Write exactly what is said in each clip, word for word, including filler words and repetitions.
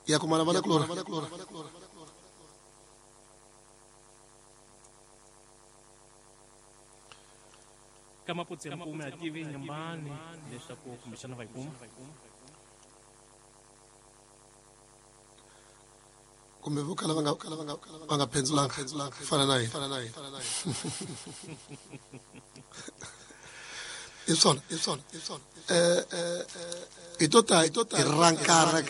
Ya kumana vana kulora Kamaputsi mpume ativi nyumbani leswaku kumbexana va yi kuma kumbe vo kala va nga va nga phendzulanga fana na yena i swona i swona i swona eh i to ta i rankara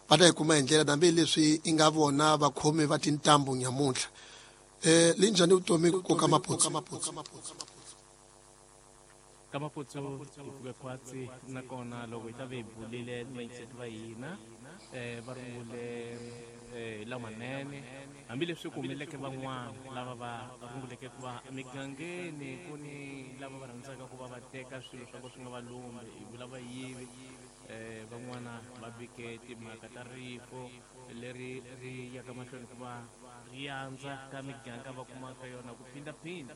va ta yi kuma hi ndlela hambi leswi i nga vona vakhomi va tintambu nyamuntlha eh linjhani vutomi ku ka Maputsu ka Maputsu hi pfuke khwatsi nakona loko hi ta ve hi bulile vayingiseti va hina eh va rungule eh lamanene hambileswi ku humeleleke van'wana lava va runguleke ku va emigangeni ku ni lava va rhandzaka ku va va teka swilo swa ku swi nga va lumbi hi vula vayivi eh van'wana va vike timhaka ta rifo leri ri yaka mahlweni ku va ri andza ka miganga va kumaka yona ku phindaphinda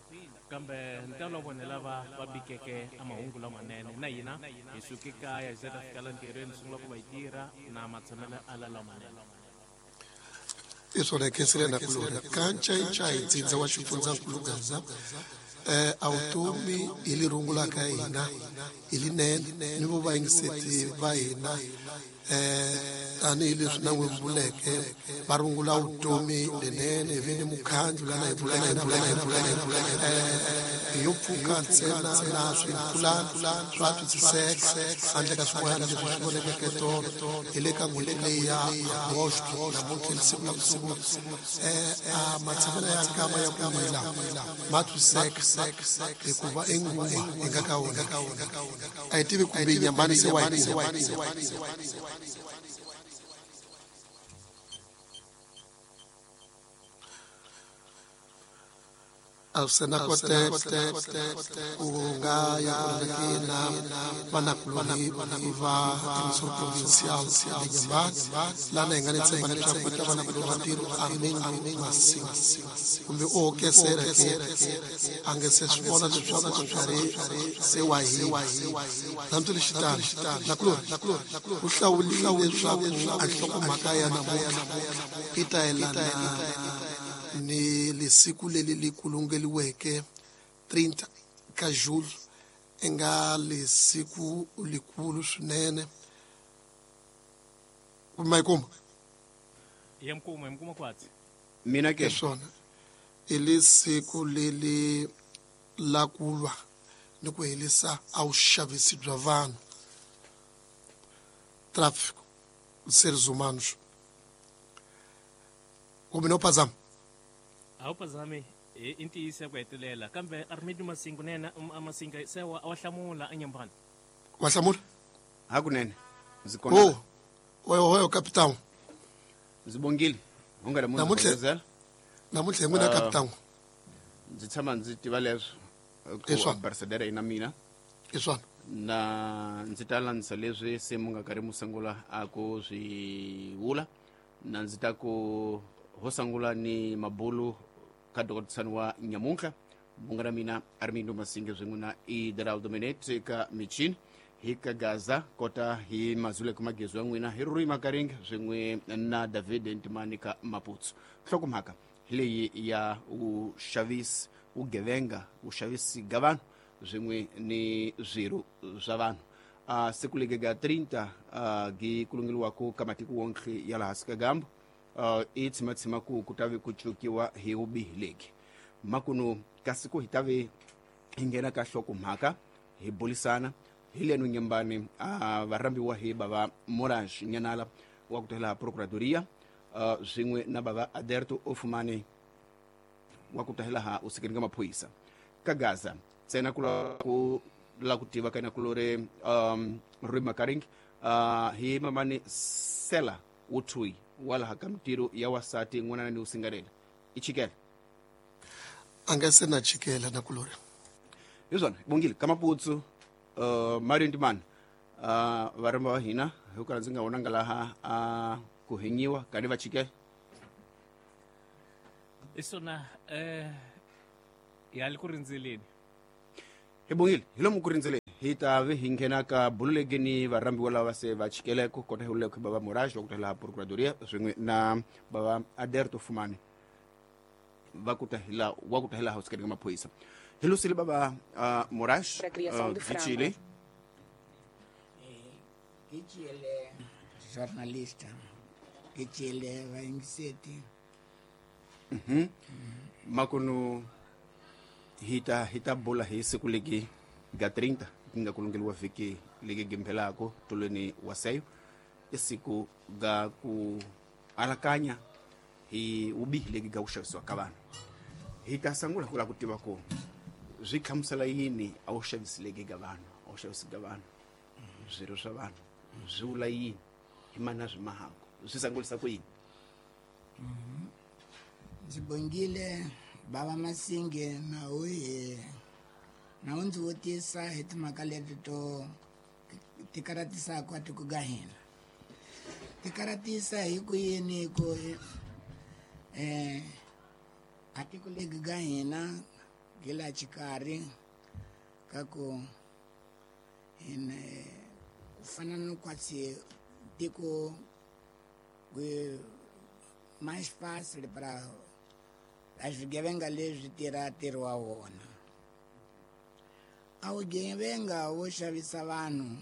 kambe ntalo wa vona lava va bikeke a mahungu lamanene na hina hi suke kaya hi ze ta fika la ntirhweni sungula ku va hi tirha na matshamelo ala lamanene i swona hi khensile na kulora kancaincai ntsindza wa xifundzankulu Gaza eh a vutomi hi li rungulaka hina hi linene ni vo vayingiseti va hina eh tanihileswi na n'wi vuleke va rungula vutomi lenene hi ve ni mukhandlu lana hi vuleke na vuleke na vuleke eh yo pfuka ntsena na swipulani swa twisiseka handle ka swin'wana leswi swi vonekeke tolo hi le ka n'hweti leyi ya Agosto namuntlha hi siku la ku sungula eh a matshamelo ya nkama ya ku wila ma twisiseka hikuva i nguva hi nga ka wona a hi tivi kumbe nyambani se wa yi kuma a swi na koteka ku nga ya ku na vanakuloni va Emisor Provincial de Nyambani lana hi nga ni tshemba leswaku va ta va na kuloni ntirho Armindo Masinga kumbe o hokesela ke a nge se swi vona leswaku nkarhi se wa hina hambileswitano nakuloni ku hlawuliwe leswaku a nhlokomhaka ya namuntlha yi ta yelana ni lesiku leli li kulungeliweke trinta ka julho i nga lesiku likulu swinene kumbe ma yi kuma ya mkuma ya mkuma kwatsi mina ke hi swona i lesiku leli la ku lwa ni ku herisa a vuxavisi bya vanhu tráfico de seres humanos kumbe no phazama a wu phazami i ntiyiso ya ku hetelela kambe Armindo Masinga na yena Masinga se wa wa hlamula enyambani wa hlamula hakunene ndzi kona oh oyo oyo capitão ndzi bongile u nga namuntlha namuntlha hi n'wina capitão ndzi tshama ndzi tiva leswo I ku swona. ambasadara yi na mina i swona na ndzi ta landzisa leswi se mu nga karhi mu sungula a ku swi vula na ndzi ta ku ho sungula ni mabulu ka dokotisani wa nyamuntlha munga na mina Armindo Masinga swin'we na Ideraldo Minete ka michini hi ka Gaza kota hi mazuleko magezo ya n'wina hi Rui Makaringa swin'we na David Ntimani ka Maputsu nhlokomhaka hi leyi ya vuxavisi vugevenga vuxavisi ga vanhu swin'we ni swirho swa vanhu uh, siku legi ga trinta uh, gi kulungeliwaku ka matiko wonke ya laha hansi ka gambu uh, i tshimatshima ku ku ta ve ku cukiwa hi vubihi legi makunu kasi ku hi ta ve hi nghena ka nhlokomhaka hi bulisana hi leno nyambani uh, varhambiwa hi bava Moraes Nyanala wa ku tela procuradoria uh, swin'we na bava Aderto Ofumani wa ku tahela ha usikeni ka maphorisa ka Gaza ntsena ku la ku la ku tiva ka na kulore um Rui Makaring uh, hi mamani Sela Uthui wa laha ka mintirho ya wasati n'wana ni usingarela i chikela a nga se na chikela na kulori hi swona bongile ka Maputsu uh, Mario Ntimani uh, varhamba va hina hi ku ndzi nga vonanga laha uh, ku henyiwa kani va chikela i swona eh ya le ku rindzeleni hi bongile hi lomu ku rindzeleni hi ta ve hi nghena ka bululeki ni varhambiwa lava se va chikeleko kota hi uleko bava Moraes wa ku laha Procuradoria swin'we na bava Aderto Fumani va ku ta hi la wa ku ta hi laha ka maphorisa. Hi lusile bava uh, Moraes Para uh, Chile Chile jornalista Chile vaingiseti. Mhm. Makunu hita hita bula hi siku legi ga trinta nga kulungeliwa vhiki legi gimphelako tolweni wa seyo i siku ga ku alakanya hi vubihi legi ga ku xavisiwa ka vanhu. Hi ta sungula ku lava ku tiva ku swi hlamusela yini a wu xavisi legi ga vanhu, a wu xavisi ga vanhu, swirho swa vanhu swi vula yini, hi mani a swi mahako, swi sungulisa ku yini? Ndzi bongile bava Masinge na u hi na u ndzi vutisa hi timhaka leti to ti karatisaka tiko ga hina. Ti karatisa hi ku yini ku eh a tiko legi ga hina gi la xikarhi ka ku hina ku fana no kwatsi tiko mais fácil para a swigevenga leswi tirha ntirho wa wona. A vugevenga wo xavisa vanhu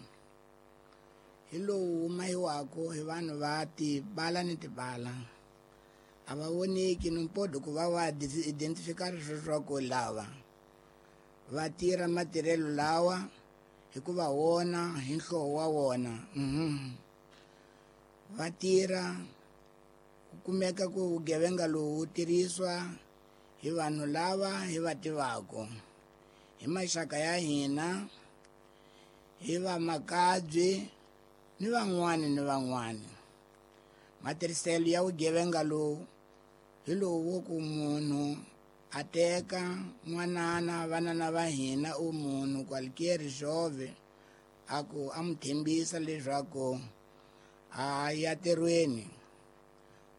hi lowu wu mahiwaka hi vanhu va tibala ni tibala. A va voneki no mpodo ku va va identificar leswaku lava va tirha matirhelo lawa hikuva wona hi nhlovo wa wona. Mhm. Va tirha ku kumeka ku vugevenga lowu wu tirhisiwa hi vanhu lava hi va tivaka, hi maxaka ya hina, hi vamakabye ni van'wani ni van'wani. Matirhiselo ya vugevenga lowu hi lowu wo ku munhu a teka n'wanana vanana va hina u munhu qualquer jovem a ku a n'wi tshembisa leswaku a ya ntirhweni,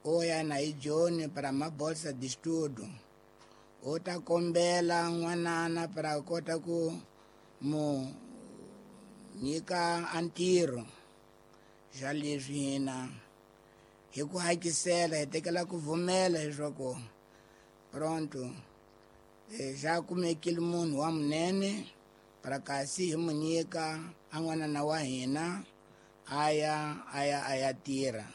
o ya na hi Joni para mabolsa de estudo, o ta kombela n'wanana para kota ku mu nyika a ntirho. Xa leswi hina hi ku hakisela hi tekela ku vumela leswaku pronto xa kumekile munhu wa munene para kasi hi mu nyika a n'wanana wa hina a ya a ya a ya tirha.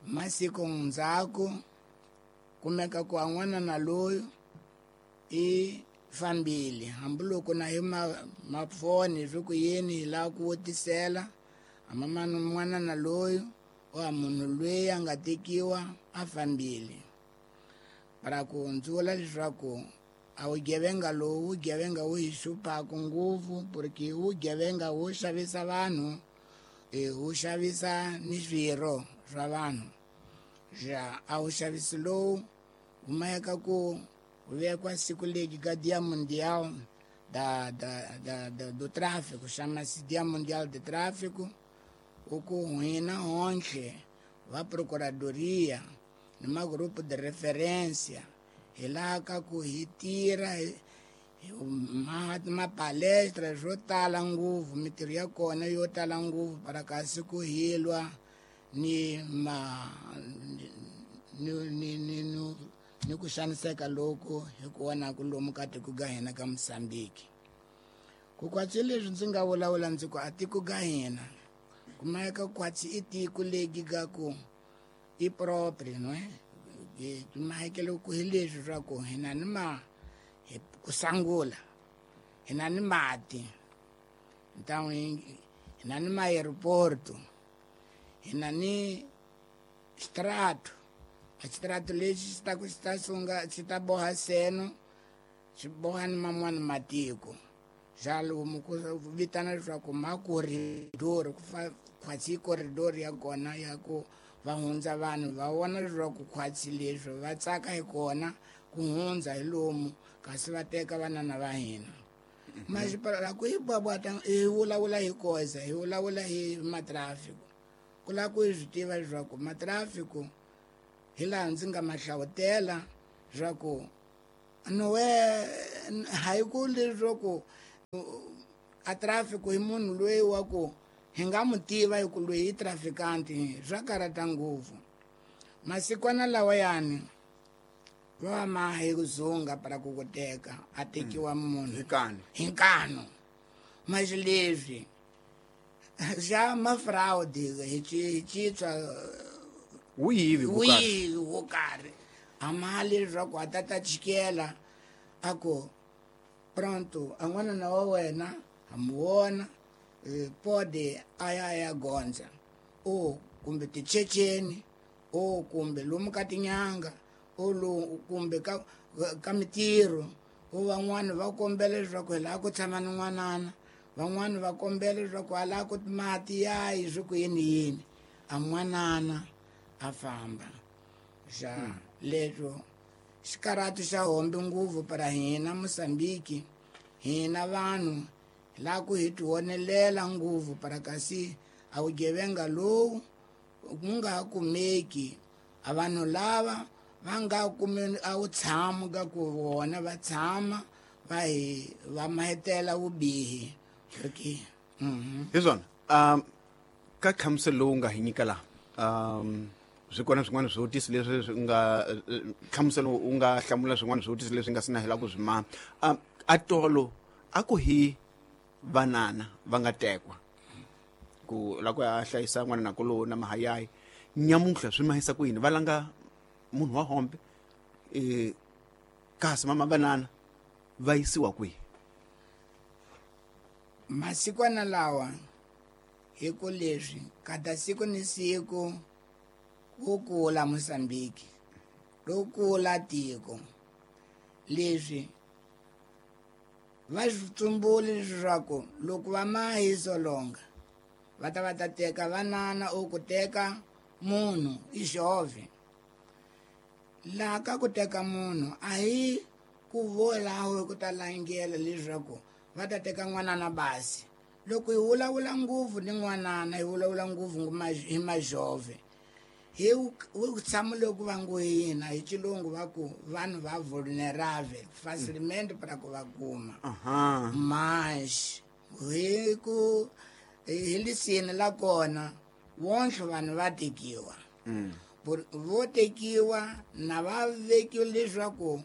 Masiku ndzhaku kumeka ku a n'wanana loyi i fambile hambiloko na hi mafoni swi ku yini hi lava ku vutisela amamani n'wanana loyi o a munhu loyi a nga tekiwa a fambile. Para ku ndzi vula leswaku a vugevenga lowu vugevenga wu hi hluphaka ngopfu porque vugevenga wu xavisa vanhu, wu xavisa ni swirho swa vanhu. Ja a wu xavisi lowu wu mayeka ku vekiwa siku legi ka Dia Mundial da da da da do Tráfico, chama-se Dia Mundial de Tráfico, o ku hina honhle va Procuradoria ni magrupo de referência hi laha ka ku hi tirha ma mapalestra swo tala ngopfu, mintirho ya kona yo tala ngopfu para kasi ku hilwa ni ma ni ni ni ni ku xaniseka loku hi ku vonaka lomu ka tiko ga hina ka Mozambique. Ku kwatsi leswi ndzi nga vulavula ndzi ku a tiko ga hina kumeka kwatsi i tiko legi ga ku i proprio no mahekelo ku hi leswi swa ku hina ni ma ku sangula hina ni mati, então hina ni ma-aeroporto, hina ni strato. A xitirato lexi xi ta ku xi ta sunga xi ta boha seno xi boha ni man'wani matiko. Xa lomu ku vitana leswaku makoridori ku fa khwatsi koridori ya kona ya ku va hundza vanhu va vona leswaku khwatsi leswi va tsaka hi kona ku hundza hi lomu kasi va teka vanana va hina. Masipala ku hi bwabwata hi vulavula hi koza hi vulavula hi matrafiko ku lava ku hi swi tiva leswaku matrafiko hi laha ndzi nga ma hlavutela leswaku nowe hayi ku leswaku a traffic hi munhu loyi wa ku hi nga mu tiva hi ku loyi i trafikanti swa karata ngopfu masikwana lawayani va ma hi ku zunga para ku ku teka a tekiwa munhu hi nkani hi nkanu mas leswi xa ma-fraud hi hi citswa wuyivi wo karhi wo karhi a mali leswaku a ta ta chikela a ku pronto a n'wanana wa wena ha mu vona pode a ya ya gondza o kumbe tichecheni o kumbe lomu ka tinyanga o lo kumbe ka ka mitirho o van'wani va kombela leswaku hi lava ku tshama ni n'wanana van'wani va kombela leswaku a lava ku mati yayi swi ku yini yini a n'wanana a famba xa leswo xikaratu xa hombe ngopfu para hina Mozambique hina vanhu la ku hi tiwonelela ngopfu para kasi a vugevenga lowu ku nga ha kumeki a vanhu lava va nga kumi a wu tshama ka ku vona va tshama va hi va mahetela vubihi okay mhm hi swona um ka nhlamuselo lowu nga hi nyika laha um swi kona swin'wana swivutiso leswi swi nga nhlamuselo u nga hlamula swin'wana swivutiso leswi nga sina hela ku swi ma um a tolo a ku hi vanana va nga tekwa ku la ku ya hlayisa n'wana na kolo na mahayayi nyamuntlha swi mahisa ku yini va langa munhu wa hombe eh kasi mama banana va yisiwa kwihi masikwana lawa hi ku leswi kada siku ni siku ku kula Mozambique ro kula tiko leswi va swi tsumbuli leswaku loko va mahisolonga va ta va ta teka vanana o ku teka munhu i xove laha ka ku teka munhu a hi ku volaho ku ta langela leswaku va ta teka n'wanana basi loko hi vulavula ngopfu ni n'wanana hi vulavula ngopfu hi majove hi ku tshama loko va ngo hina hi xilungu va ku vanhu va vulnerable facilmente para ku va kuma mas hi ku hi lisini la kona wonhle vanhu va tekiwa vo tekiwa na va vekiwa leswaku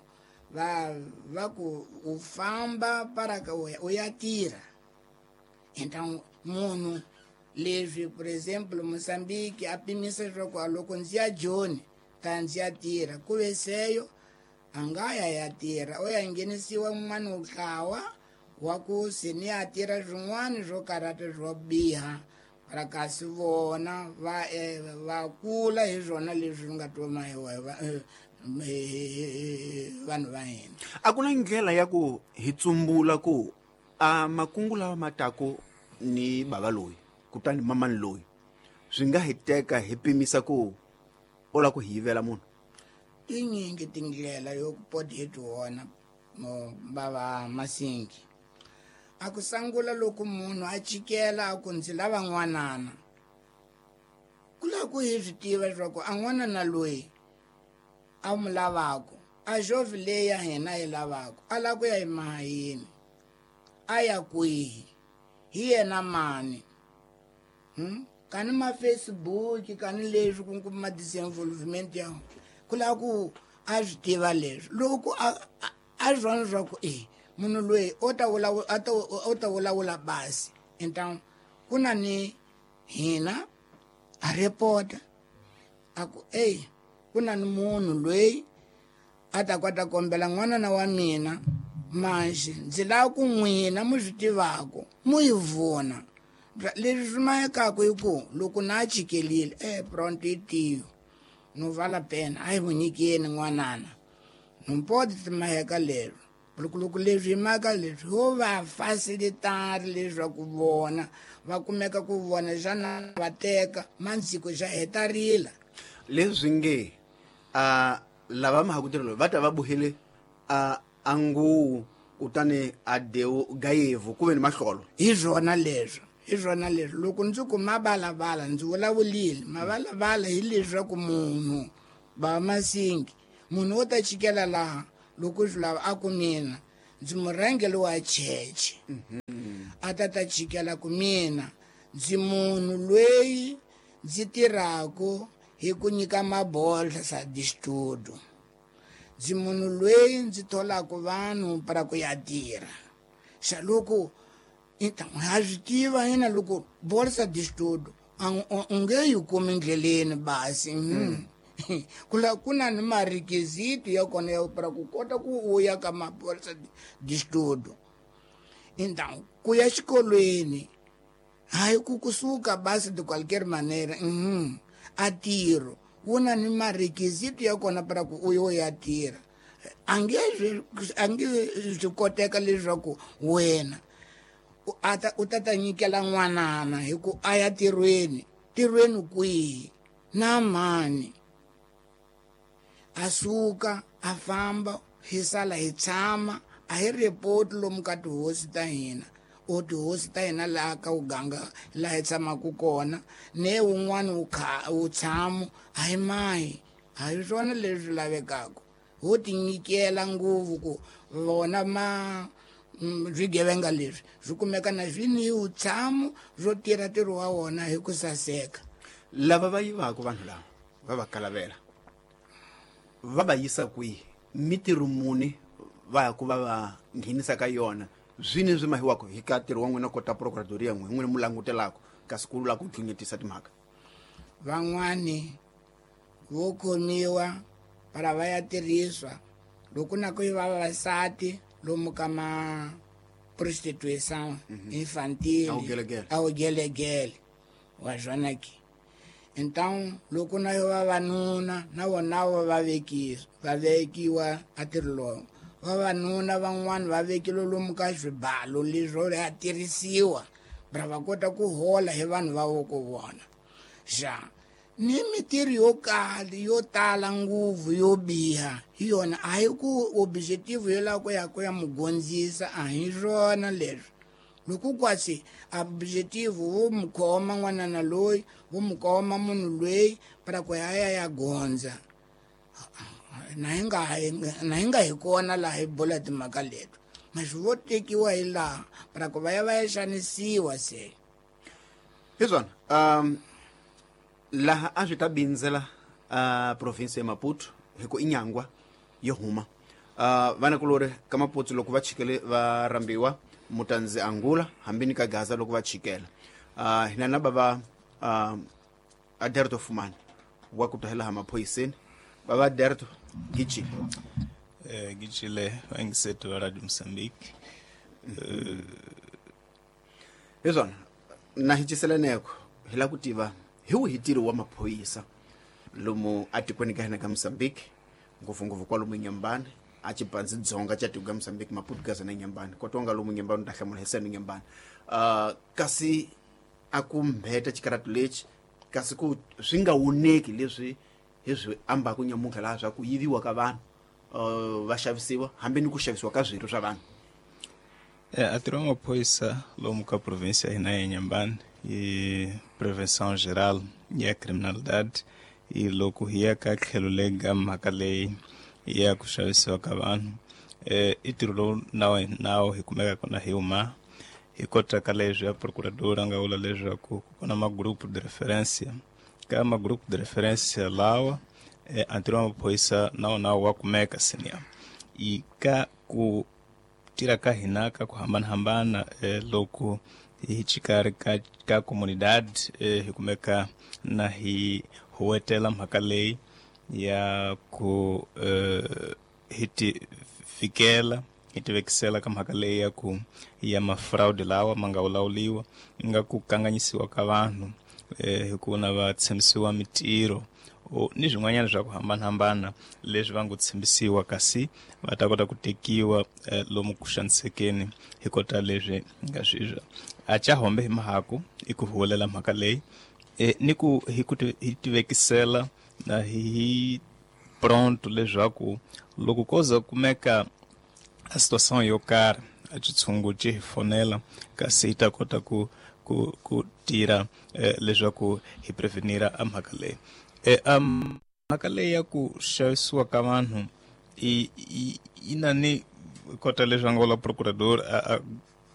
va va ku u famba para ka u ya tirha então munhu leswi por exemplo Mozambique a pimisa leswaku loko ndzi ya Joni ta ndzi ya tirha ku ve seyo a nga ya ya tirha o ya nghenisiwa n'wana ntlawa wa ku se ni ya tirha swin'wana swo karata swo biha para kasi vona va va kula hi swona leswi nga toma hi vanhu va hina a ku na ndlela ya ku hi tsumbula ku a makungu lawa ma taku ni bava loyi kutani mamani loyi swi nga hi teka hi pimisa ku u lava ku hi yivela munhu tinyingi tindlela yo poti hi tiwona mo bava masingi a ku sangula loko munhu a chikela a ku ndzi lava n'wanana ku lava ku hi swi tiva leswaku a n'wanana loyi a mu lavaka a xovi leyi ya hina yi lavaka a lava ku ya emahayini a ya kwihi hi yena mani hmm? Kani ma Facebook kani leswi ku kuma disinvolvement ya ku lava ku a swi tiva leswi loko a a swi vona leswaku e munhu loyi o ta vulavula a ta o ta vulavula basi então ku na ni hina a report a ku ey ku na ni munhu loyi a ta kota kombela n'wanana wa mina manxi ndzi lava ku n'wina mu swi tivaka mu yi vona leswi swi mayekaka hi ku loko na chikelile e pronto i tiyo no vala pena a hi mu nyikeni n'wanana no pode ti maheka lero loko loko leswi hi maka leswi ho va facilitari leswaku vona va kumeka ku vona xana va teka mandziko xa heta rila leswi nge a lava mahakutirelo va ta va buhile a a nguwu kutani a dewu gayevu ku ve ni mahlolo hi swona leswo hi swona leswo loko ndzi ku mavalavala ndzi vulavulile mavalavala hi leswaku munhu va masingi munhu wo ta chikela laha loko swi lava a ku mina ndzi murhangeri wa cheche a ta ta chikela ku mina ndzi munhu loyi ndzi tirhaka hi ku nyika mabolsa de estudo. Ndzi munhu loyi ndzi tholaka vanhu para ku ya tirha. Xa loko então ha swi tiva yena loko bolsa de estudo u nge yi kumi ndleleni basi. Kula ku na ni marequisito ya kona ya para ku kota ku u ya ka mabolsa de estudo. Então ku ya xikolweni hayi ku kusuka basi de qualquer maneira. Uhum. A tiro wu na ni marequisito ya kona para ku u yo ya tirha. A nge a nge swi koteka leswaku wena u ta u ta ta nyikela n'wanana hi ku a ya tirhweni tirhweni kwihi na mani. A suka a famba hi sala hi tshama a hi report lomu ka tihosi ta hina o tihosi ta hina laha ka uganga laha hi tshamaka kona ne wun'wana wu kha wu tshamo a hi mahi a hi swona leswi lavekaka. Ho ti nyikela ngopfu ku vona ma swigevenga leswi swi kumeka na swi ni wutshamo swo tirha ntirho wa wona hi ku saseka. Lava va yivaka vanhu lava va va kalavela va va yisa kwihi mitirho muni va ya ku va va nghenisa ka yona zwini swi mahiwaka hi ka ntirho wa n'wina kota procuradoria n'we n'wina mu langutelaka kasi ku lava ku dlunyetisa timhaka. Van'wani vo khomiwa para va ya tirhiswa loko na ku yiva vavasati lomu ka ma prostituição infantil a wugelegele wa swona ke. Então loko na yo vavanuna na vona va vekiwa va vekiwa a ntirho lowu. Vavanuna van'wana va vekile lomu ka swibalo leswo ya tirhisiwa ra va kota ku hola hi vanhu va voko vona. Xa ni mitirho yo kala yo tala ngopfu yo biha hi yona a hi ku objective yo lava ku ya ku ya mugondzisa a hi swona leswi. Loko kwasi objective wo mu khoma n'wanana loyi wo mu khoma munhu loyi para ku ya ya ya gondza na hi nga na hi nga hi kona laha hi bula timhaka leto mas vo tekiwa hi laha para ku va ya va ya xanisiwa se. Hi swona um laha a swi ta bindzela uh, province ya Maputo hi ku inyangwa yo huma uh, vanakulori ka Maputo loko va chikele va rambiwa mutandzi Angula hambi ni ka Gaza loko va chikela uh, hina na bava uh, Aderto Fumani wa ku tahela ha maphoyiseni baba Aderto gichi eh gichile vangiseto wa Radio Mozambique. Hi swona na hi ciseleneko hi la ku tiva hi wihi ntirho wa maphorisa lomu atikweni ka hina ka Mozambique ngopfungopfu kwalomu Nyambani a Chipanzi Dzonga cha tiko ka Mozambique Maputo Gaza na Nyambani kotonga lomu Nyambani ta hlamula hi senu Nyambani uh, kasi a ku mbheta xikaratu lexi kasi ku swi nga woneki leswi hi swi ambaka nyamuntlha laha swa ku yiviwa ka vanhu uh, va xavisiwa hambi ni ku xavisiwa ka swirho swa vanhu. É, a ntirho wa maphorisa lomu ka província ya hina ya Nyambani i prevenção geral ya criminalidade e loko hi ya ka tlhelo lega ka mhaka leyi ya ku xavisiwa ka vanhu eh, i ntirho lowu na nawu hi kumeka kona hi huma hi kota ka leswi ya procurador a nga vula leswaku ku kona magrupu de referência ka magrupu de referência lawa eh, ntirho wa maphorisa na wona wa kumeka senior i ka ku tirha ka hina ka ku hambanahambana eh, loko hi xikarhi ka ka comunidade eh, hi kumeka na hi huwetela mhaka leyi ya ku eh, hi ti fikela hi ti vekisela ka mhaka leyi ya ku ya mafraudi lawa ma nga vulawuriwa nga ku kanganyisiwa ka vanhu eh, hi ku na va tshembisiwa mitirho ni swin'wanyana swa ku hambanahambana leswi va ngo tshembisiwa kasi va ta kota ku tekiwa eh, lomu ku xanisekeni hi kota leswi nga swizwa a cha hombe hi mahaku i ku huwelela mhaka leyi eh, ni ku hi ku hi tivekisela na hi pronto leswaku loko ko za kumeka a situação yo karhi a xitshungu xi hi fonela kasi hi ta kota ku ku ku tirha eh, leswaku hi prevenira a mhaka leyi. E um mhaka leyi ya ku xavisiwa ka vanhu i i na ni kota leswi va nga vula procurador a, a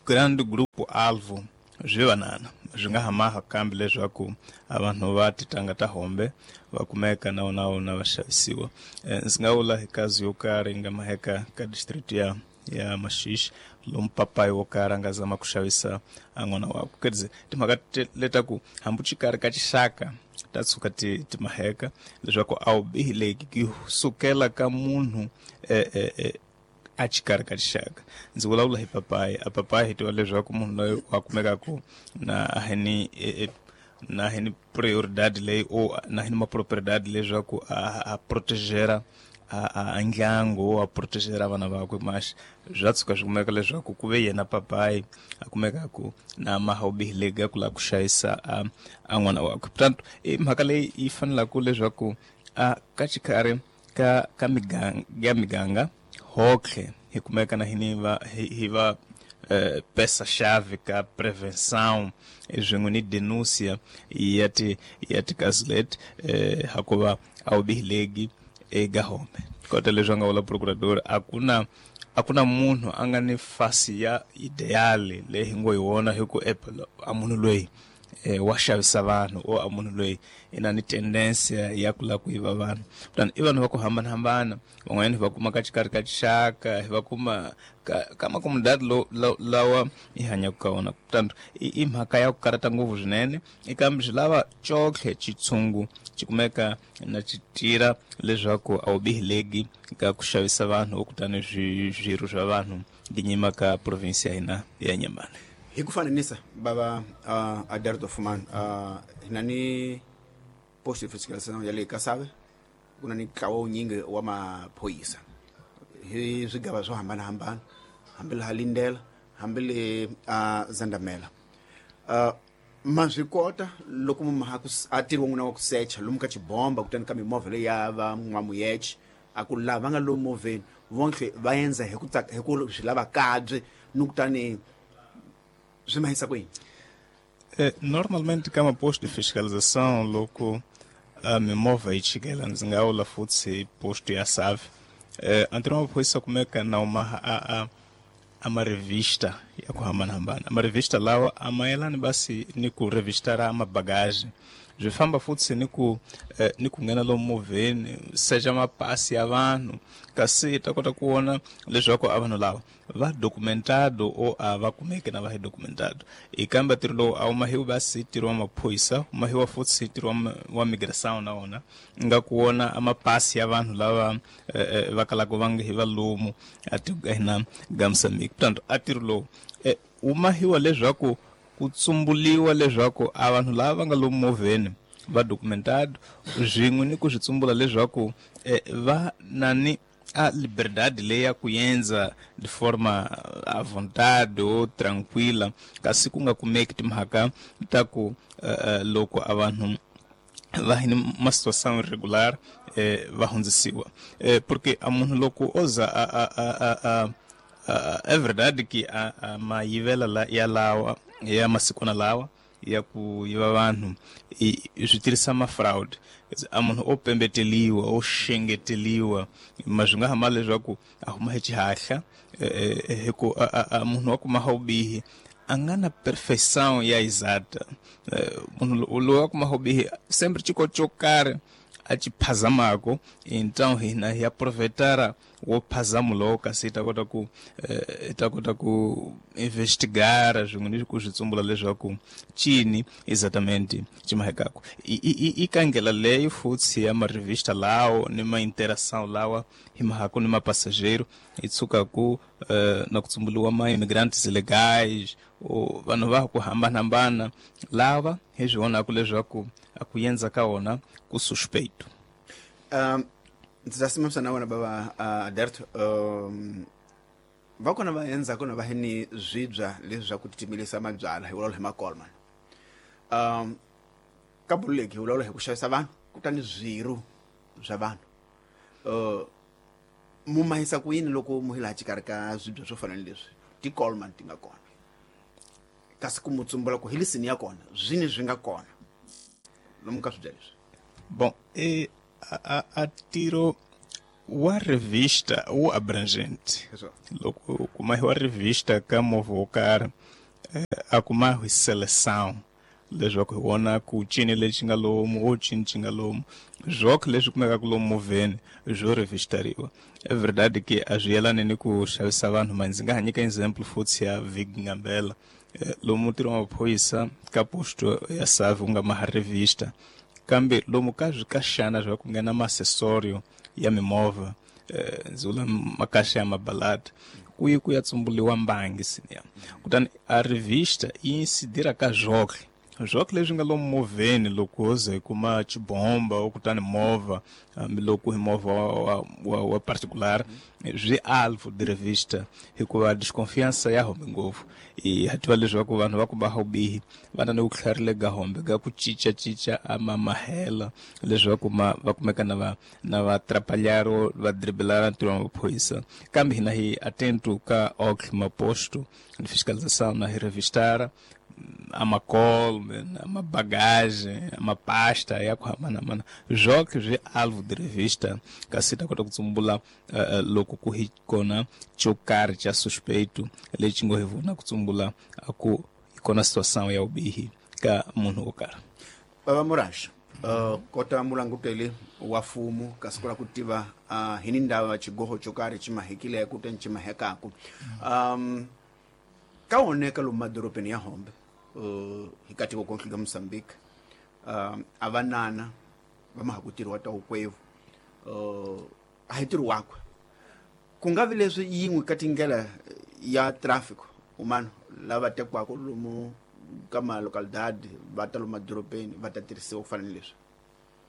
grande grupo alvo swi vanana swi nga hamaha kambe leswaku a vanhu va titanga ta hombe va kumeka na wona wona va xavisiwa. Ndzi nga vula hi kazi yo karhi yi nga maheka ka district ya ya Maxixe lomu papayi wo karhi a nga zama ku xavisa a n'wana wakwe. Quer dizer, timhaka letaku hambi xikarhi ka xixaka ta tshuka ti ti maheka leswaku a wu bihileki ku sukela ka munhu eh, eh, eh, a xikarhi ka xixaka. Ndzi vulavula hi papayi, a papayi hi tiva leswaku munhu loyi wa kumekaku na hini eh, na hini prioridade leyi o na hini mapropriedade leswaku a, a protegera a, a ndyangu a protegera vana vakwe mas swa tshuka swi kumeka leswaku ku ve yena papayi a kumekaku na maha ubihileka ku lava ku xavisa a, a n'wana wakwe. Portanto i mhaka leyi yi fanelaka leswaku a ka xikarhi ka ka miganga ya miganga hotlhe hi kumeka na hini va hi, hi va eh, peça-chave ka prevenção swin'we ni denúncia ya ti ya tikazi leti eh, hakuva a wu bihileki eka home. Kota leswi a nga vula procurador, a ku na a ku na munhu a nga ni fasi ya ideale leyi hi ngo hi wona hi ku a munhu loyi eh, wa xavisa vanhu o a munhu loyi i na ni tendensia ya ku lava ku yiva vanhu. Kutani i vanhu va ku hambanahambana, van'wanyana hi va kuma ka xikarhi ka xixaka, hi va kuma ka, ka makomunidadi lo, lo, lawa hi hanyaka ka wona. Kutani i, i mhaka ya ku karata ngopfu swinene, kambe swi lava cotlhe xitshungu xi kumeka na xi tirha leswaku a wu bihileki ka ku xavisa vanhu kutani swirho swa vanhu ginyima ka province ya hina ya Inhambane. Hi ku fananisa bava uh, Aderto Fumani, uh, hina ni post de fiscalização ya le Kasave ku na ni ntlawa wunyingi wa maphorisa hi swigava swo hambanahambana, hambi laha Lindela hambi le uh, Zandamela. Uh, ma swi kota loko munhu a tirhi wa n'wina wa ku secha lomu ka xibomba kutani ka mimovha leyi ya va n'wamuyeche a ku lava va nga lomu movheni vonke va endza hi ku hi ku swi lava kabye ni kutani swi mahisa kwini? Eh, normalmente ka maposto de fiscalização loko a mimovha yi chikela ndzi nga vula futhi hi posto ya Save eh, antirho wa maphorisa kumeka na uma a, a, a marevista ya ku hambanahambana. Marevista lawa a mayelani basi ni ku revistara mabagaji, swi famba futhi ni ku eh, ni ku nghena lomu movheni secha mapasi ya vanhu kasi hi ta kota ku vona leswaku a vanhu lava va documentado o a va kumeke na va hi documentado. I kambe ntirho lowu a wu mahiwi basi ntirho wa maphorisa, wu mahiwa futhi ntirho wa, wa migração na wona nga ku vona a mapasi ya vanhu lava eh, va kalaka va nga hi valomu a tiko ka hina ga Moçambique. Portanto a ntirho lowu eh, wu mahiwa leswaku ku tsumbuliwa leswaku a vanhu lava va nga lomu movheni va documentado swin'we ni ku swi tsumbula leswaku eh, va na ni a liberdade leyi ya ku endza de forma à vontade ou tranquila, kasi ku nga kumeki timhaka ta ku uh, loko a vanhu va hi ni ma situação irregular eh, va hundzisiwa eh, porque a munhu loko o za a, a, a, a, a, a, é verdade que a, a mayivela la, ya lawa ya masikwana lawa ya ku yiva vanhu swi tirhisa ma fraud. A munhu o pembeteliwa o xengeteliwa ma swi nga hamba leswaku a huma hi xihahla hi ku a munhu wa kuma vubihi a nga na perfeição ya exata. Munhu loyi wa kuma vubihi sempre xiko xo karhi a xi phazamako, então hina hi aproveitara wo phazamo lowo kasi hi ta kota ku hi ta kota ku investigara swin'we ni ku swi tsumbula leswaku cini exatamente xi mahekako. I ka ndlela leyi futhi ya marevista lawo ni ma interação lawa hi mahako ni mapassageiro hi tshuka ku na ku tsumbuliwa ma imigrantes ilegais o vanhu va ku hambanahambana lava hi swi vonaka leswaku a ku endza ka wona ku suspeito. Um, ndzi ta simamisa na wena bava uh, Aderto. Um, va kona va endzhaku na va hi ni swibya leswi swa ku titimilisa mabyalwa hi vulavula hi makolman. Um, ka bululeki hi vulavula hi ku xavisa vanhu kutani swirho swa vanhu. Uh, mu mahisa ku yini loko mu hi laha xikarhi ka swibya swo fana ni leswi tikolman ti nga kona kasi ku mu tsumbula ku hi lisini ya kona swini swi nga kona lomu ka swibya leswi? Bom, e a, a tiro wa revista wu abrangente. Loko kuma hi wa revista ka movha wo karhi A ku ma hi seleção leswaku hi vona ku cini lexi nga lomu o cini xi nga lomu zwokhe leswi kumekaka lomu movheni swo revistariwa. É verdade que a swi yelani ni ku xavisa vanhu, ma ndzi nga ha nyika example futhi ya Vig Ngambela lomu ntirho wa maphorisa ka posto ya Save wu nga maha revista, kambe lomu ka swikaxana swa ku nghena ma-accessorio ya mimovha, ndzi vula makaxa ya mabalada, ku yi ku ya tsumbuliwa mbangi siniya. Kutani a revista yi insidira ka zwokhe zwokhe leswi nga lomu movheni, loko ho ze hi kuma xibomba o kutani movha, hambiloko hi movha wa, wa, wa particular, swi alvo de revista hikuva desconfiança ya hombe ngopfu. I ha tiva leswaku vanhu va ku va vubihi va na ni vutlhari ga hombe ga ku cincacinca a ma mahela leswaku ma va kumeka na va na va trapalhar va driblar ntirho wa maphorisa. Kambe hina hi atento ka ok maposto de fiscalização na revistara a macol, a uma bagagem, a uma pasta ya ku hambanahambana zwokhe swi alvo de revista, kasi ta kota ku tsumbula uh, loko ku hi kona xo karhi xa suspeito lexi ngo hi vona ku tsumbula ku hi kona situação ya vubihi ka munhu wo karhi. Baba Murasha, uh, kota mulanguteli wa fumu kasi kula ku tiva uh, hi ni ndava xigoho xo karhi xi mahekileko kutani xi mahekaku um ka oneka lomu madorobeni ya Hombe uh, hi katiko konke ka Mozambique, uh, a vanana va ma ha ku tirhiwa ta wukwevu uh, a hi ntirho wakwe ku nga vi leswi yin'we ka tindlela ya traffic umano lava tekiwaka lomu ka malocalidade va ta lomu madorobeni va ta tirhisiwa ku fana ni leswi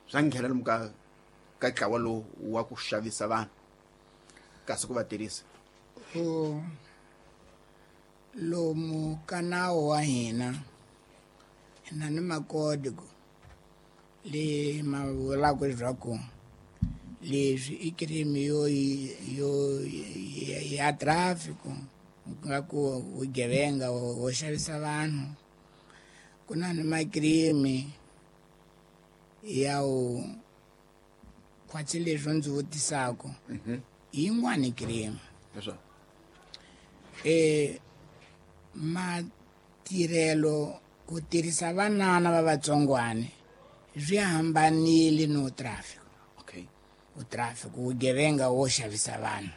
swa nghena lomu ka ka ntlawa lowu wa ku xavisa vanhu kasi ku va tirhisa oh. Lomu ka nawu wa hina hina ni makodigo le ma vulaka leswaku leswi i crime yo yo ya traffic, ku nga ku vugevenga wo xavisa vanhu. Ku na ni macrime ya u khwatsi leswi ndzi vutisaka yin'wani crime leswaku eh matirhelo ku tirhisa vanana va vatsongwana swi hambanile no traffic. Okay, u traffic vugevenga wo xavisa vanhu.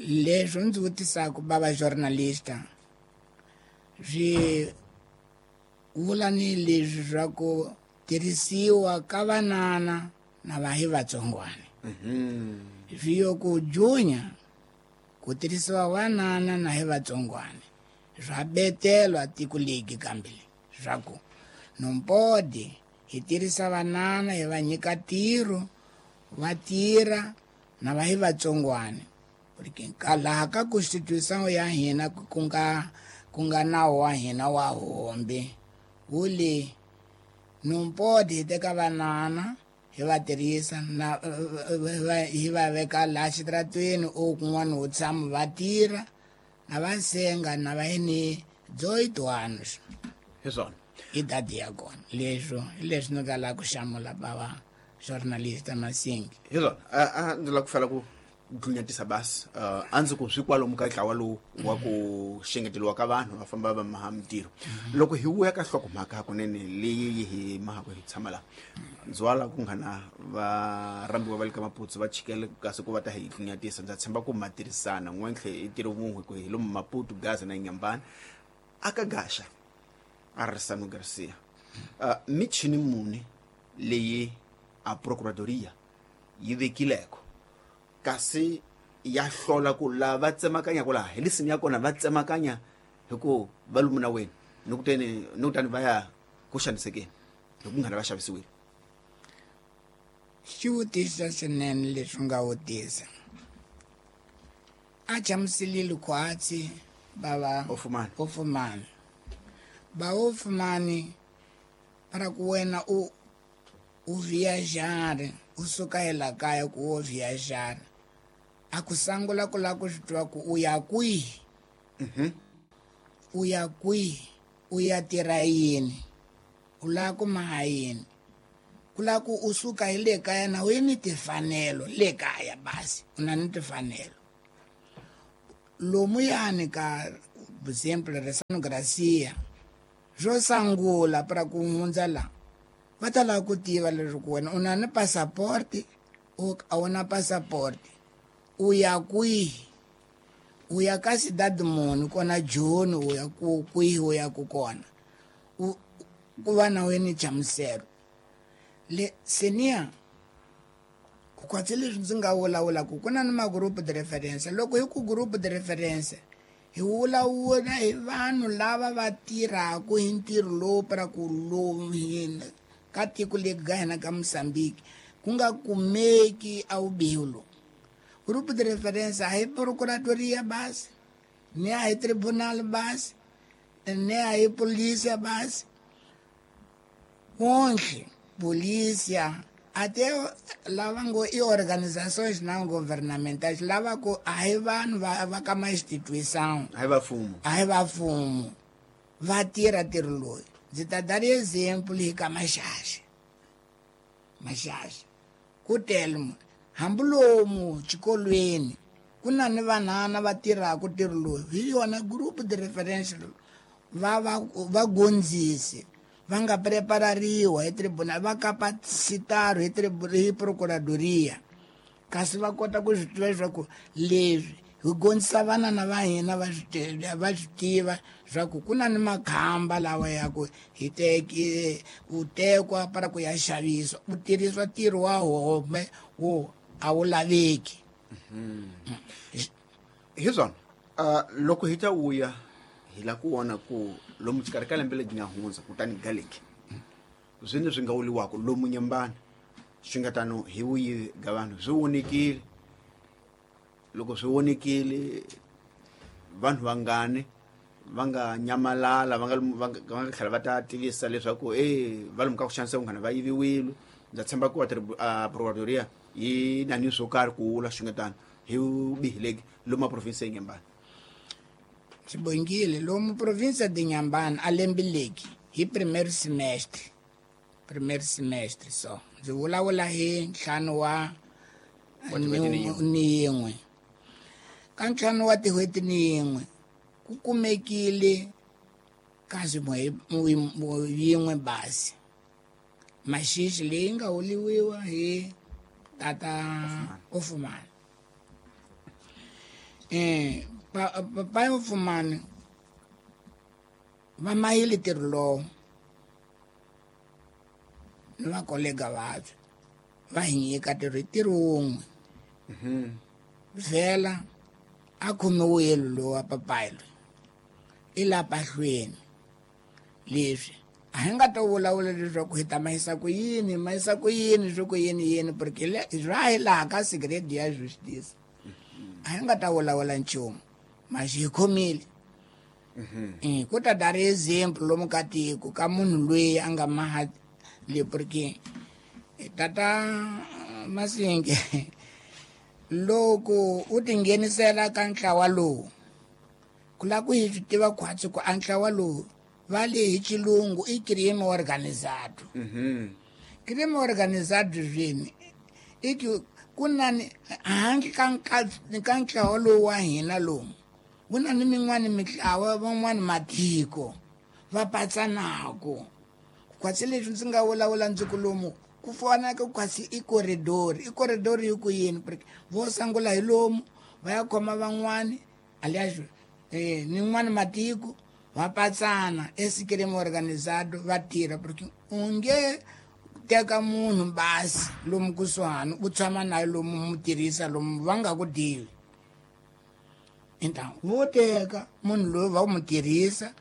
Leswi ndzi vutisaka bava journalista swi vula ni leswi swa ku tirhisiwa ka vanana na va hi vatsongwana. Swi yo ku junya ku tirhisiwa vanana na hi vatsongwana swa betelwa tiko legi kambe swa ku nompodi hi tirhisa vanana hi va nyika ntirho va tirha na va hi vatsongwana, porque ka laha ka constitution ya hina ku nga ku nga nawu wa hina wa Hombe wu le nompodi hi teka vanana hi va tirhisa na hi va veka laha xitaratweni o kun'wana wo tshama va tirha na va senga na va ni dezoito anos hi swona idade ya kona. Leswo hi leswi ni nga lava ku hlamula bava journalista Masingi. Hi swona a ndzi lava ku fela ku dlunyatisa basi a ndzi ku swi kwalomu ka ntlawa lowu wa ku xengeteriwa ka vanhu va famba va maha mintirho. Loko hi vuya ka nhlokomhaka hakunene leyi hi mahako hi tshama laha ndzi wala ku nghana va rambiwa va le ka Maputo va chikele kasi ku va ta hi dlunyatisa. Ndza tshemba ku ma tirhisana n'wentlhe i ntirho wun'we ku hi lomu Maputo Gaza na Inhambane aka Gaxa Arsano Garcia uh, michini muni leyi a procuradoria yi vekileko kasi ya hlola ku lava tsemakanya ku laha hi lisini ya kona va tsemakanya hi ku va lumu na wena ni kuteni ni kutani va ya ku xanisekeni hi ku nghana va xavisiwile. Xivutiso swinene leswi nga vutisa a chamusilile khwatsi bava ofumani ofumani ba ofumani para ku wena u u viajar u suka hi la kaya ku u viajar a ku sangula ku lava ku swi tiva ku u ya kwihi, u ya kwihi, u ya tirha yini, u lava ku maha yini, ku lava ku u suka hi le kaya na u yi ni timfanelo le kaya basi u na ni timfanelo lomuyani ka por exemplo Resano Gracia xo sangula para ku hundza la va ta lava ku tiva leswaku wena u na ni passaporti o a wu na passaporti u ya kwihi u ya ka cidade muni kona Joni u ya ku kwihi u ya ku kona u ku va na wena nhlamuselo le senior ku kwatsi leswi ndzi nga vulavulaka ku na ni ma-group de reference loko hi ku group de reference hi vulavula hi vanhu lava va tirhaka hi ntirho lowu para ku lowu hina ka tiko leri ga hina ka Mozambique ku nga kumeki a vubihi lowu group de reference a hi procuradoria basi ni a hi tribunal basi ni a hi polícia basi wonke polícia até lava ngo i organizações não governamentais lava ku a hi vanhu va va ka ma instituição a hi va mfumo a hi va mfumo va tirha ntirho loyi ndzi ta dar exemplo hi ka Maxaxa Maxaxa ku tele mo hambi lomu xikolweni ku na ni vanhana va tirhaka ntirho loyi hi yona group de reference va va va gondzisi va nga preparariwa hi tribunal va capacitaro hi hi procuradoria kasi va kota ku swi tiva leswaku leswi hi gondzisa vanana va hina va swi va swi tiva swa ku ku na ni makhamba lawa ya ku hi teki u tekwa para ku ya xavisa u tirhisiwa ntirho wa home wo a wu laveki hi swona loko hi ta vuya hi la ku vona ku lomu xikarhi ka lembe leri nga hundza kutani galeki zwine swi nga wuliwaka lomu Nyembani swi nga tano hi vuyivi ga vanhu swi vonekile loko swi vonekile vanhu vangani va nga nyamalala va nga va nga tlhela va ta tivisa leswaku e va lomu ka ku xanisa vanghana va yiviwile ndza tshemba ku va procuradoria yi na ni swo karhi ku wula swi nga tano hi vubihi lomu province ya Nyembani Sibongile lomu província de Inhambane a lembe leki hi primeiro semestre primeiro semestre só ndzi vulavula hi ntlhanu wa ni yin'we ka ntlhanu wa tin'hweti ni yin'we ku kumekile kasi yin'we basi maxixi leyi nga huliwiwa hi tata Ofumani eh papai Ofumani va mayile ntirho lowu ni vakolega vabye va hi nyika ntirho hi ntirho wun'we vhela a khomiwile lowa papai loyi i la pahlweni leswi a hi nga ta vulavula leswaku hi ta mahisa ku yini mahisa ku yini swi ku yini yini porque swa hi laha ka segredo ya justice a hi nga ta vulavula nchumu maxi hi khomile ku ta dar example lomu ka tiko ka munhu loyi a nga maha le porque tata Masinge loko u tinghenisela ka ntlawa lowu ku lava ku hi swi tiva khwatsi ku a ntlawa lowu va le hi xilungu i crime organizado crime organizado swini i ku ku na ni handle ka ka ntlawa lowu wa hina lowu ku na ni min'wani mitlawa van'wani matiko va patsanako khwatsi leswi ndzi nga vulavula ndzi ku lomu ku fana ka khwatsi i corridor i corridor hi ku yini porque vo sangula hi lomu va ya khoma van'wani alias eh ni n'wani matiko va patsana esi crime organizado va tirha porque u nge teka munhu basi lomu kusuhani u tshama naye lomu mu tirhisa lomu va nga ku divi então vo teka munhu loyi va mu tirhisa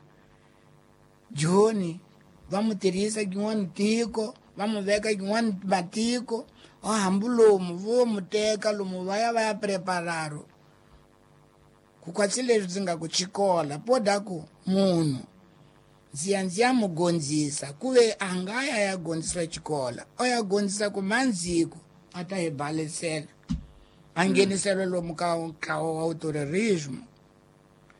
Joni va mu tirhisa kin'wani tiko va mu veka kin'wani matiko hambi lomu vo mu teka lomu va ya va ya prepararo ku kwatsi leswi ndzi nga ku xikola poda ku munhu ndzi ya ndzi ya mu gondzisa ku ve a nga ya ya gondzisa xikola o ya gondzisa ku mandziko a ta hi balisela a nghenisela lomu ka ntlawa wa terrorismo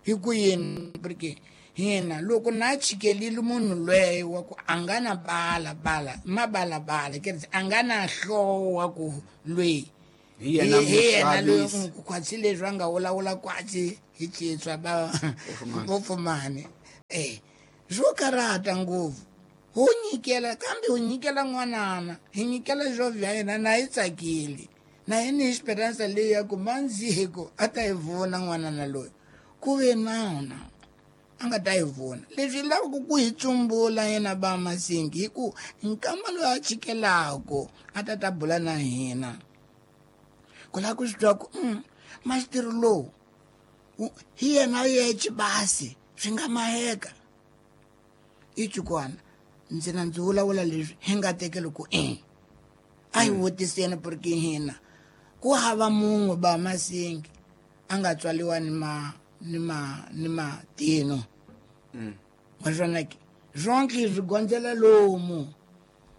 hi ku yini porque hina loko na chikelile munhu loyi wa ku a nga na bala bala mabalabala quer dizer a nga na hloko wa ku loyi Hi yena hi yena muxavisi. Khwatsi leswi a nga vulavula kwatsi hi citswa va vopfumani eh swo karata ngopfu ho nyikela kambe ho nyikela n'wanana hi nyikela jovhi ya hina na yi tsakile na hi ni esperanza leyi ya ku mandziko a ta yi vona n'wanana loyi ku ve nawu na a nga ta yi vona leswi lavaka ku hi tsumbula yena ba Masingi hi ku nkama loyi a chikelako a ta ta bula na hina ku lava ku swi twa ku mm, maxitiri lowu wu- hi yena yexe basi swi nga maheka i chukwana ndzi na ndzi vulavula leswi hi nga tekeli ku e a hi vutiseni porque hina ku hava mun'we ba Masingi a nga tswaliwa ni ma ni ma ni matino wa swona ke swonke swi gondzela lomu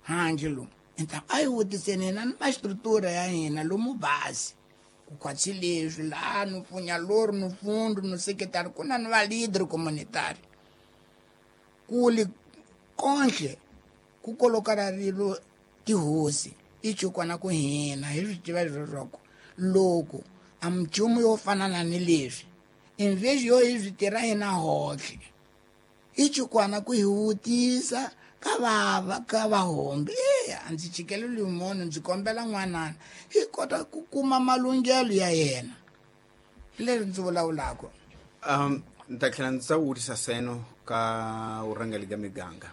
handle lomu enta a hi vutiseni hina ni mastructura ya hina lomu basi ku khwatsi leswi laha no pfunya lori no fundu no sekretari ku na ni va leader communitary kuli konhle ku kolokara rilo tihosi i chukwana ku hina hi swi tiva leswaku loko a minchumu yo fana na ni leswi invesi yo hi swi tirha hina hohle i chukwana ku hi vutisa ka vava ka vahombi e a ndzi chikeleli munhu ndzi kombela n'wanana hi kota ku kuma malunghelo ya yena hi leswi ndzi vulavulaka. um ni ta tlhela ndzi ta vutisa seno ka vurhangeri ka miganga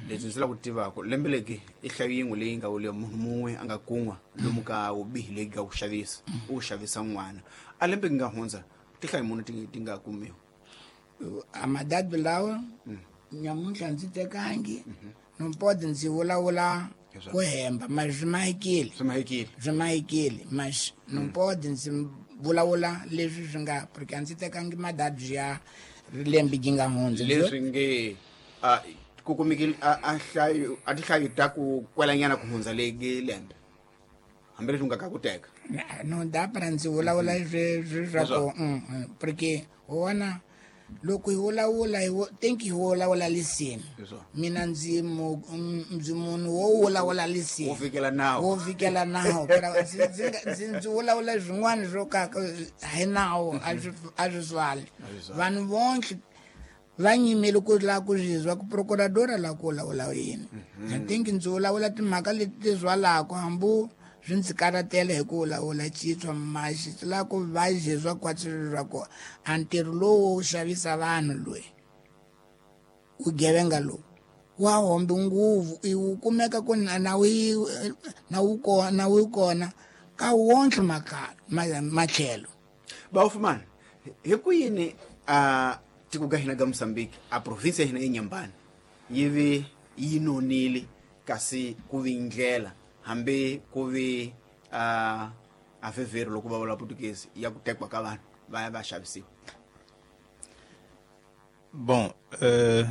leswi ndzi lava ku tivaka lembe legi i hlayo yin'we leyi nga wuliwa munhu mun'we a nga kun'wa lomu ka vubihi leyi ka ku xavisa u xavisa n'wana a lembe ki nga hundza tihlayo muni ti ti nga kumiwa? Amadadi lawa nyamuntlha ndzi tekangi nompodi ndzi vulavula ku hemba ma swi mahekile. Swi mahekile. Swi mahekile mas nompodi ndzi vulavula leswi swi nga porque a ndzi tekangi madadi ya lembe gi nga hundza. Leswi nge a ku kumekile a a hlayo a tihlayo ta ku kwelanyana ku hundza legi lembe hambileswi u nga ka ku teka. No dá para ndzi vulavula swi swi swa ku mm, mm, porque wona loko hi vulavula hi vu- think hi vulavula lisini. Leswo. Mina ndzi mu- mm, ndzi munhu wo vulavula lisini. Wo fikela nawu. Wo fikela nawu. Phela ndzi ndzi nga- ndzi ndzi vulavula swin'wana swo ka hi nawu a swi a swi swali vanhu vonke va nyimele ku lava ku zwizwa ku procuradora la ku vulavula yini. I think ndzi vulavula timhaka leti ti zwalaka hambi swi ndzi karatela hi ku vulavula citswa maxi swi lava ku va zizwa kwatsi swa ku a ntirho lowu wo xavisa vanhu loyi vugevenga lowu wa hombi nguvu i wu kumeka ku na na wu na wu kona na wu kona ka wonke makhala ma- matlhelo. Bawufumana hi ku yini a tiko ka hina ka Mozambique a province ya hina eNyambani yi vi yi nonile kasi ku vi ndlela hambi ku vi a a vhevheri loko va vula Portuguese ya ku tekiwa ka vanhu va ya va xavisiwa? Bom, eh,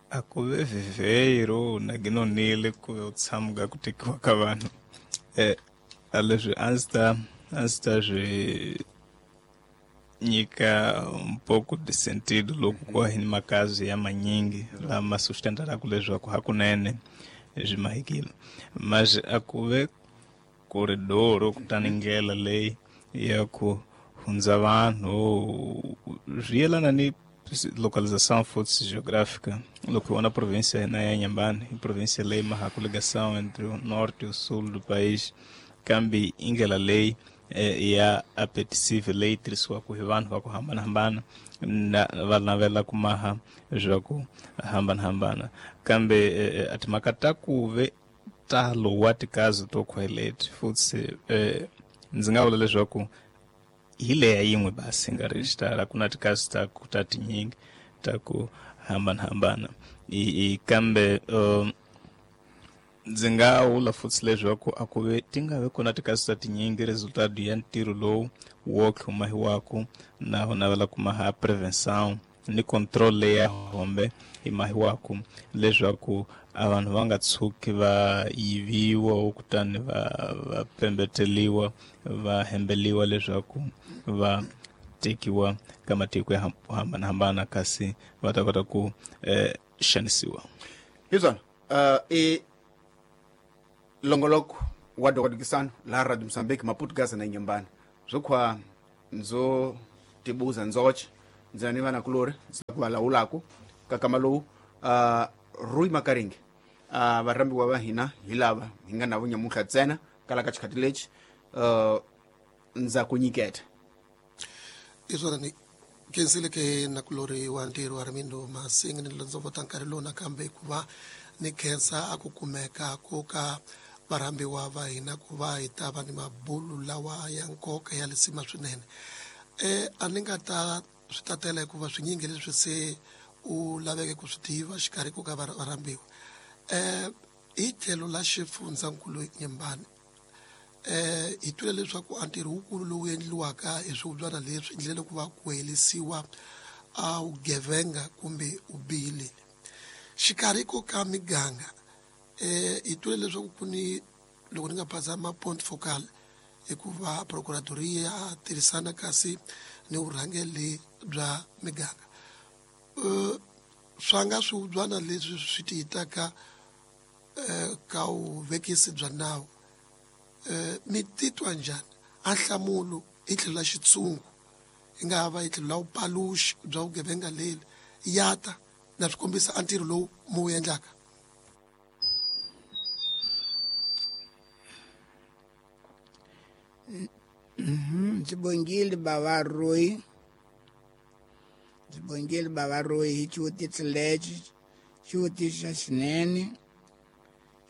a ku ve viveiro na ginonile ku ve u tshamuka ku tekiwa ka vanhu eh, a leswi a ndzi ta a ndzi ta swi nyika um pouco de sentido loko ku va hi ni makazi ya manyingi lama sustentaraka leswaku hakunene swi mahekile mas a ku ve koridoro kutani ndlela leyi ya ku hundza vanhu swi yelana ni localização futhi geográfica. Loko hi vona província ya hina ya Inhambane i província leyi mahaku ligação entre o norte e o sul do país kambe i ndlela leyi eh, ya apetecível leyi tirhisiwaka hi vanhu va ku hambanahambana na va navela ku maha swa ku hambanahambana kambe eh, eh, a timhaka ta ku ve talo wa tikazi to khweleti futhi eh, ndzi nga vula leswaku hi leya yin'we basi nga ri xitala ku na tikazi ta ku ta tinyingi ta ku hambanahambana i, i kambe um, ndzi nga vula futhi leswaku a ku ve ti nga vi kona tikazi ta tinyingi resultado ya ntirho lowu wo tlhumahiwaku na wu navela ku maha prevenção ni control leyi ya hombe yi mahiwaku leswaku a vanhu va nga tshuki va yiviwa kutani va va pembeteliwa va hembeliwa leswaku va tekiwa ka matiko ya ham- hambanahambana kasi va ta kota ku eh, xanisiwa. Hi swona uh, i longoloko wa dokodikisano la Radio Mozambique Maputo Gaza na Inhambane zwokhwa ndzo tibuza ndzoche ndzina ni vana kulori ndzi ku valawulaku kakama lowu uh, Rui Makaringe uh, varhambiwa va hina hi lava hi nga navo nyamuntlha ntsena kala ka xikhati lexi uh, ndza ku nyiketa hi swona ni khensile ke nakulori wa ntirho wa Armindo Masinga ni londzovota nkarhi lowu nakambe ku va ni khensa a ku kumeka ku ka varhambiwa va hina ku va hi ta va ni mabulu lawa ya nkoka ya lisima swinene. E a ni nga ta swi tatela hikuva swinyingi leswi se u laveke ku swi tiva xikarhi ku ka varhambiwa. Eh hi tlhelo la xifundzankulu Inhambane eh hi twile leswaku a ntirho wukulu lowu endliwaka hi swivubyana leswi endlele ku va ku helisiwa a vugevenga kumbe vubihi. Xikarhi ko ka miganga eh hi twile leswaku ku ni loko ni nga phazama point focal hikuva procuradoria tirhisana kasi ni vurhangeri bya miganga. Eh swa nga swivubyana leswi swi tiyitaka eh ka vuvekisi bya nawu eh mi titwa njhani a nhlamulo hi tlhelo la xitshungu yi nga va hi tlhelo la vupaluxi bya vugevenga leli ya ta na swi kombisa a ntirho lowu mu wu endlaka? Ndzi bongile bava Rui, ndzi bongile bava Rui hi xivutiso lexi xivutiso xa xinene.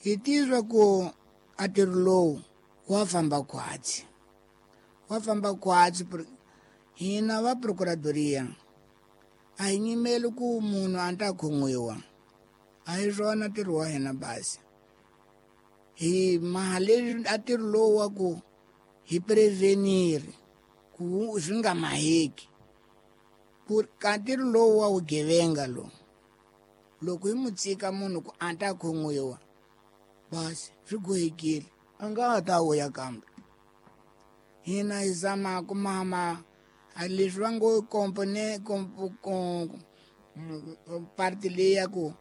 Hi tizwa ku a ntirho lowu wa famba khwatsi, wa famba khwatsi. Hina va procuradoria a hi nyimeli ku munhu a ta khomiwa, a hi swona ntirho wa hina basi. Hi maha leswi a ntirho lowu wa ku hi prevenir ku swi nga maheki. Ku ka ntirho lowu wa vugevenga lowu, loko hi mu tshika munhu ku a ta khomiwa basi swi gohekile, a nga ha ta vuya kambe. Hina hi zama ku mama a leswi va ngo compone parte leyi ya ku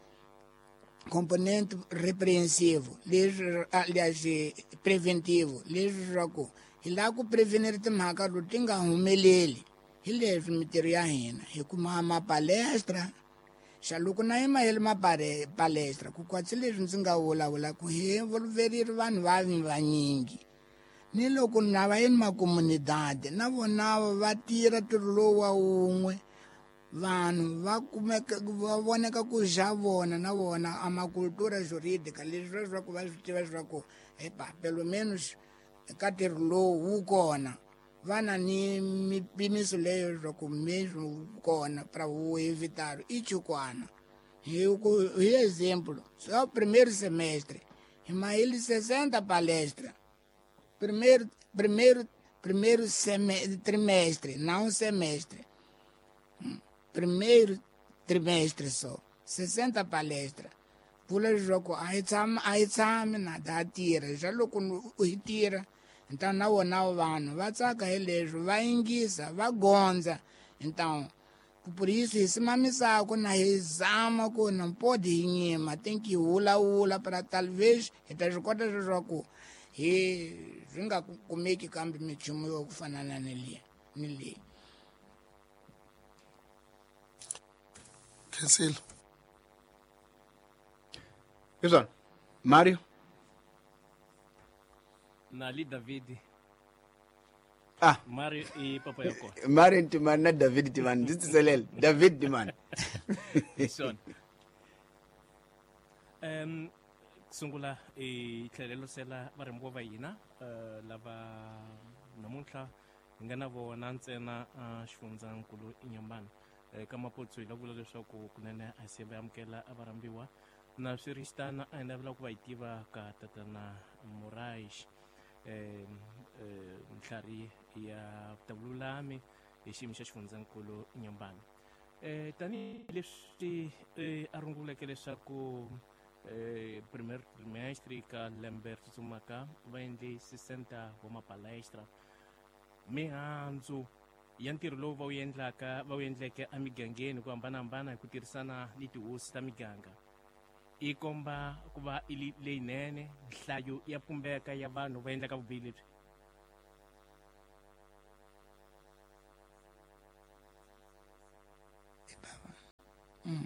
componente repreensivo leswi leswi preventivo leswi swa ku hi lava ku prevenir timhaka leti ti nga humeleli. Hi leswi mintirho ya hina hi kuma mapalestra xa loko na yima hi le mapalestra ku kwatsi leswi ndzi nga vulavula ku hi involverile vanhu va vanyingi. Ni loko na va yini makomunidade na vona va tirha ntirho lowu wa wun'we, vanhu va kumeka va voneka ku xa vona na vona a makultura jurídica leswi swa ku va swi tiva leswaku epa pelo menos ka ntirho lowu wu kona va na ni mipimiso leyo leswaku mesmo wu kona para wu evitar i chukwana. Hi ku hi exemplo, só primeiro semestre hi mahile sessenta palestra. Primeiro primeiro primeiro seme, trimestre, não semestre. Primeiro trimestre só, sessenta palestra. Vula leswaku a hi tshami a hi tshami na ta tirha xa loko hi tirha. Então na vona vanhu va tsaka hi leswi va yingisa va gondza. Então por isso hi simamisaka na hi zama ku não pode hi nyima, tem que vulavula para talvez hi ta swi kota leswaku hi swi nga kumeki kambe minchumu yo ku fana na ni leyi ni leyi. Khensile. Hi swona Mario Nali David. Ah, Mario i papa ya kona. Mario Ntimani na David Ntimani ndzi tiselele David Ntimani. Hi swona. Um sungula hi tlhelerisela varhambiwa va hina lava namuntlha hi nga na vona ntsena xifundzankulu Inhambane. Ka Maputo hi lava vula leswaku kunene a se va amukela a varhambiwa na swiritano a hi navela ku va hi tiva ka tatana Moraes eh ntlhari ya vululami hi xiyimo xa xifundzankulu Inhambane. Eh tanihileswi a runguleke leswaku eh primer trimestre ka lembe ri tsutsumaka va endle sessenta wa mapalestra mihandzu ya ntirho lowu va wu endlaka va wu endleke emigangeni ku hambanahambana hi ku tirhisana ni tihosi ta miganga yi komba ku va i leyinene nhlayo ya pumbeka ya vanhu va endlaka vubihi lebyi?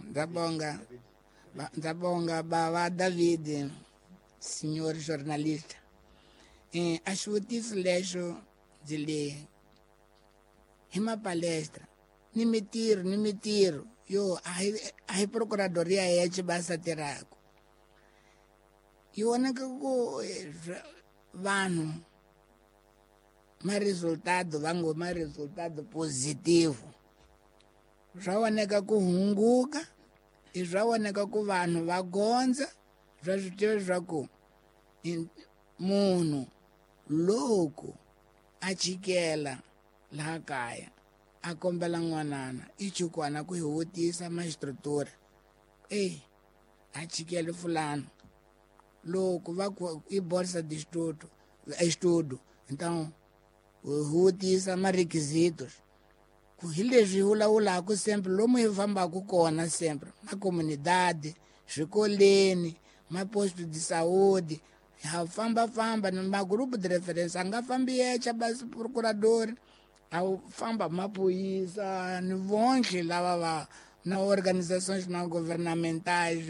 Ndza ndza bonga bava David, senhor jornalista. Eh, a xivutiso lexo ndzi le hi mapalestra ni mitirho ni mitirho yo a hi a hi procuradoria ya Chibasa tirhaka yi vonaka ku vanhu ma resultado va ngo ma resultado positivo swa voneka ku hunguka i swa voneka ku vanhu va gondza swa swi tiva leswaku munhu loko a chikela laha kaya a kombela n'wanana i chukwana ku hi vutisa mastrutura e a chikele fulano loko va ku i bolsa de estudo estudo então vutisa ma requisitos ku hi leswi hi vulavulaka sempre lomu hi fambaka kona sempre na comunidade swikoleni maposto de saúde ha famba-famba ni magrupo de referência a nga fambi yexe basi procurador a famba maphorisa ni vonke lava va na organizações não governamentais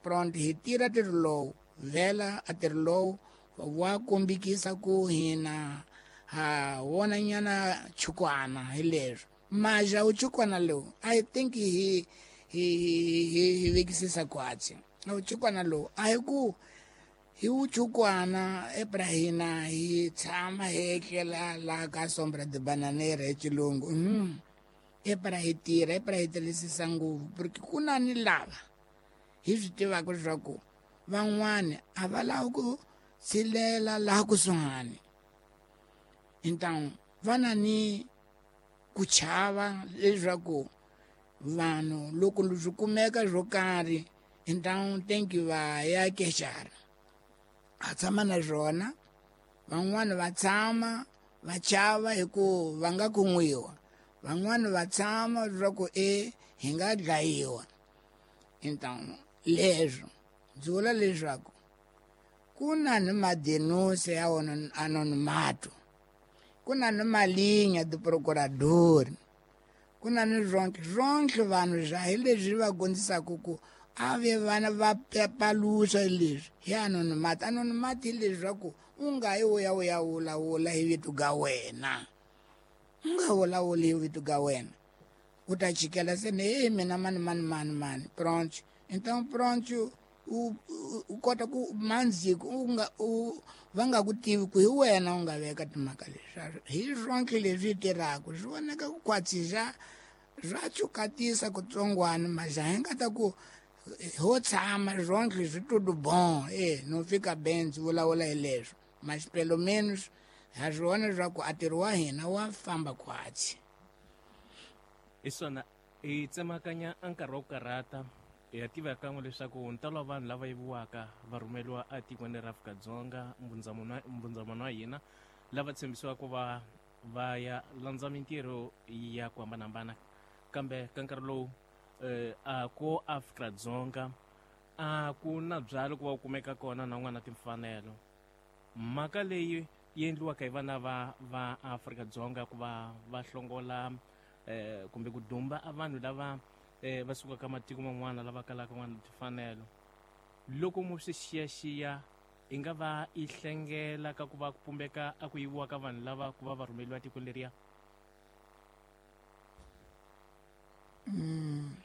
pronto hi tirha ntirho lowu vhela a ntirho lowu wa kombekisa ku hina ha wona nyana chukwana hi leswo maja wu chukwana lowu I think hi hi hi hi vekisisa khwatsi wu chukwana lowu a hi ku hi wu chukwana ebrahina hi tshama hi etlela laha ka sombra de bananera hi xilungu mm. Ebra hi tirha ebra hi tirhisisa ngopfu porque ku na ni lava hi swi tivaka leswaku van'wani a va lavi ku tshilela laha kusuhani então va na ni ku chava leswaku vanhu loko swi kumeka swo karhi então tem que va ya queixar a tshama na swona van'wani va tshama va chava hi ku va nga kun'wiwa van'wani va tshama leswaku e hi nga dlayiwa então leswo ndzi vula leswaku ku na ni madenúncia ya anonimato ku na ni malinha do procurador ku na ni swonke swonke vanhu swa hi leswi va dyondzisaka ku a ve vana va paluxa leswi hi anonimato anonimato hi leswaku u nga yi u ya u ya vulavula hi vito ga wena u nga vulavuli hi vito ga wena u ta chikela se ni hey mina mani mani mani mani pronto então pronto u u kota ku mandziko u nga u va nga ku tivi ku hi wena u nga veka timhaka leswi hi swonke leswi tirhaka swi vonaka ku khwatsisa swa chukatisa kutsongwana maja hi nga ta ku ho tshama swonke swi tudo bom e no fika bem ndzi vulavula hi leswo mas pelo menos ha swi vona leswaku a ntirho wa hina wa famba khwatsi hi swona hi tsemakanya a nkarhi wa ku karhata hi ya tiva kan'we leswaku ntalo wa vanhu lava yiviwaka va rhumeliwa etikweni ra Afrika-Dzonga mbundzamano wa hina lava tshembisiwaka ku va va ya landza mintirho ya ku hambanahambana kambe ka nkarhi lowu eh, a ko Afrika-Dzonga a ku na byalo ku va ku kumeka kona na n'wana timfanelo mhaka leyi yi endliwaka hi vana va va Afrika-Dzonga ku va va hlongola eh, kumbe ku dumba a vanhu lava eh, va sukaka matiko man'wana lava kalaka n'wana timfanelo loko mo swi xiyaxiya i nga va i hlengela ka ku va ku pumbeka a ku yiviwa ka vanhu lava ku va va rhumeliwa tikweni leriya? Mm,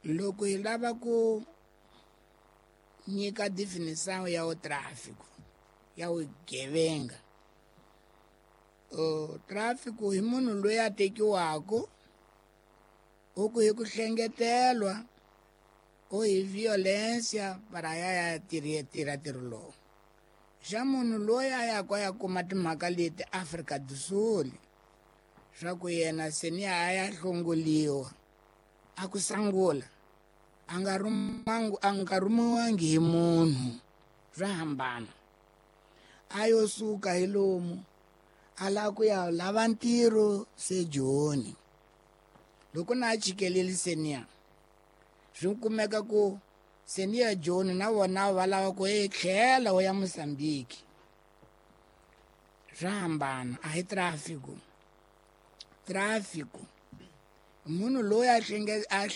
loko hi lava ku nyika definição ya o tráfico ya vugevenga o tráfico hi munhu loyi a tekiwaka u ku hi ku hlengetelwa o hi violência para ya ya tirha tirha ntirho lowu xa munhu loyi a yaka ya kuma timhaka leti Afrika do Sul swa ku yena se ni a ya hlongoliwa a ku sangula a nga rhumangu a nga rhumiwangi hi munhu swa hambana a yo suka hi lomu a lava ku ya lava ntirho se Joni loko na a chikeleli seniya swi kumeka ku Se ni ya Joni na vona va lava ku e tlhela u ya Mozambique. Swa hambana, a hi tráfico. Tráfico munhu loyi a hlenge a